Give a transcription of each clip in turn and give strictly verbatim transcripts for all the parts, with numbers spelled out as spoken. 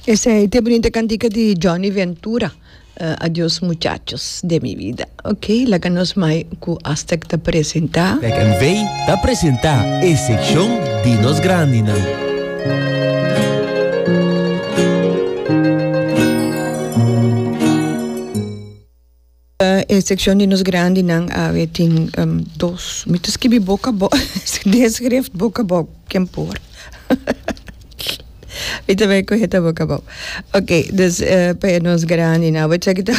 Esey ta bunita cantica di Johnny Ventura. Uh, adiós muchachos de mi vida. Ok, laga nos bay cu Astec ta presenta. Astec NV ta presenta e seccion di nos grandinan. Uh, e seccion di nos grandinan awe tin um, dos. Mi ta skibi boca bo. De schrift boca bo. Ken por. Mi tambe coge ta boca abou. Ok, dus uh, pa nos grandinan. Awe esaki ta,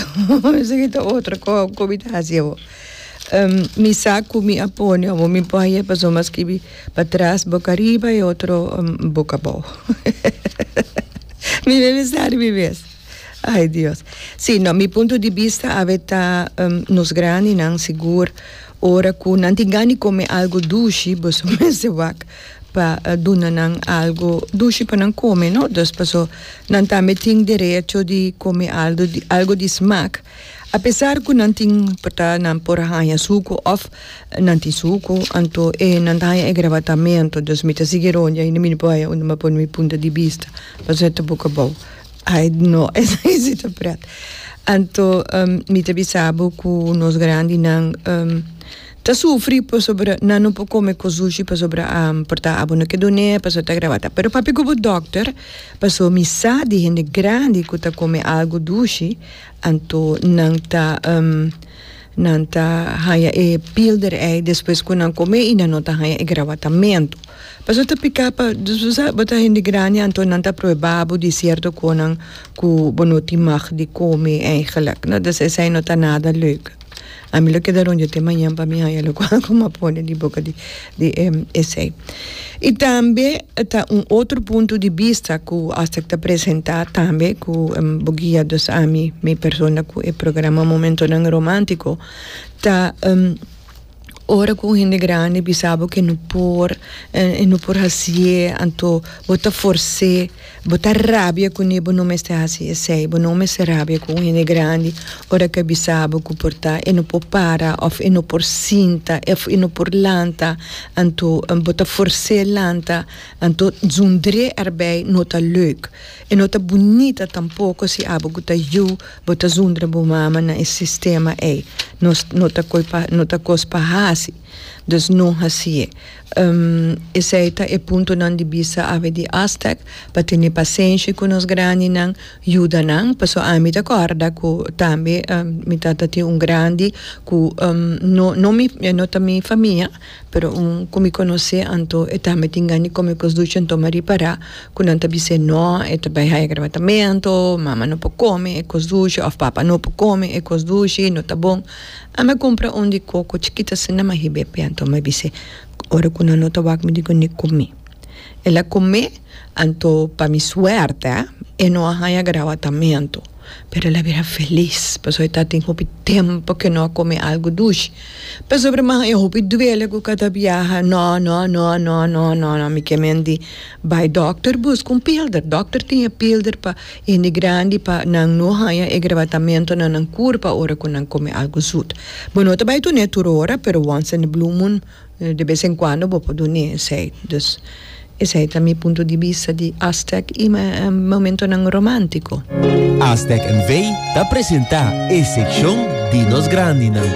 esaki ta otro co cu mi ta haci awo. Um, mi sa cu mi a pone, awo mi por haya pasobra mi a skibi patras boca ariba y otro um, boca abou. Mi bebe sa di mi mes. Ay Dios. Si, no, mi punto di bista awe ta um, nos grandinan sigur ora cu nan tin gana di come algo dushi, boso mester wak pa duna nan algo dushi pa nan come, no? Dus paso nan tambe tin derecho di come algo di, algo di smaak. A pesar cu nan tin por ta nan por haña sucu of nan tin sucu, anto e nan ta haña e grabatamento. Dus mi ta sigui rondia ainda mi no por haña unda mi a pone mi punto di bista. Pasobra e ta boca abou. Ai no, esei si ta pret. Anto mi ta bisa bo cu nos grandinan ta sufri pasobra nan no por come cos dushi pasobra por ta abo no ke dun'é pasobra ta grabata. Pero papia cu bo dokter pasobra mi sa di hende grandi cu ta come algo dushi anto nan ta nan ta haña e pilder ei despues cu nan come y nan no ta haña e grabatamento. Pasobra ta pica pa bo ta hende grandi anto nan ta prueba bo di cierto conan cu bo no tin mag di come eigenlijk. No, dus esei no ta nada leuk. Ami lo keda rond te mañan pa mi haña locual cu mi a pone di boca di di esei. Y tambe ta un otro punto di bista cu Astec ta presenta tambe cu bo guia dus ami, mi persona cu e programa Momentonan Romantico ta ora cu un hende grandi bisa bo cu e no por, e no por hacié, anto bo ta forcé, bo ta rabia cune, bo no mester haci esey, bo no mester rabia cu un hende grandi ora cu e bisa bo cu por ta e no por para of e no por sinta of e no por lanta, anto bo ta forcé lanta, anto zundré erbij no ta leuk. E no ta bunita tampoco si abo cu ta yu bo ta zundra bo mama na e sistema ey. Nos no ta koe pa no ta kos pa hasi, dus no hasié. Esei ta e puntonan di bista awe di Astec, pa tene pasenshi ku nos grandinan, yuda nan, pasobra ami ta kòrda ku tambe mi tata tin un grandi ku no no mi no ta mi famia, pero un ku mi konosé, anto e tambe tin gana di kome kos dushi, anto mi a ripará ku nan ta bis'é no, e ta bai haya grabatamento, mama no por kome e kos dushi òf papa no por kome e kos dushi, no ta bon. Ami a kumpra un di koko chikito asina mi a hib'é p'e, anto mi a bis'é ora ku nan no ta wak mi di ku ni kome. El a kome, anto pa mi suerte e no a haña grabatamento. Pero el a bira felis, pasobra e tatin hopi tempo ke no a kome algu dushi. Pasobra mi a haña hopi duele ku kada biaha, no, no, no, no, no, no, no, mi ke men di bai dòkter buska un pilder. Dòkter tin e pilder pa hende grandi pa nan no haña e grabatamento na nan kurpa ora ku nan kome algu zut. Bo no ta bai dun'é tur ora, pero once in a blue moon, de bes en cuando bo por dun'é esei. Dus. Esei ta mi punto di bista di Aztec y momentonan romantico. Aztec NV ta presenta e seccion di nos grandinan.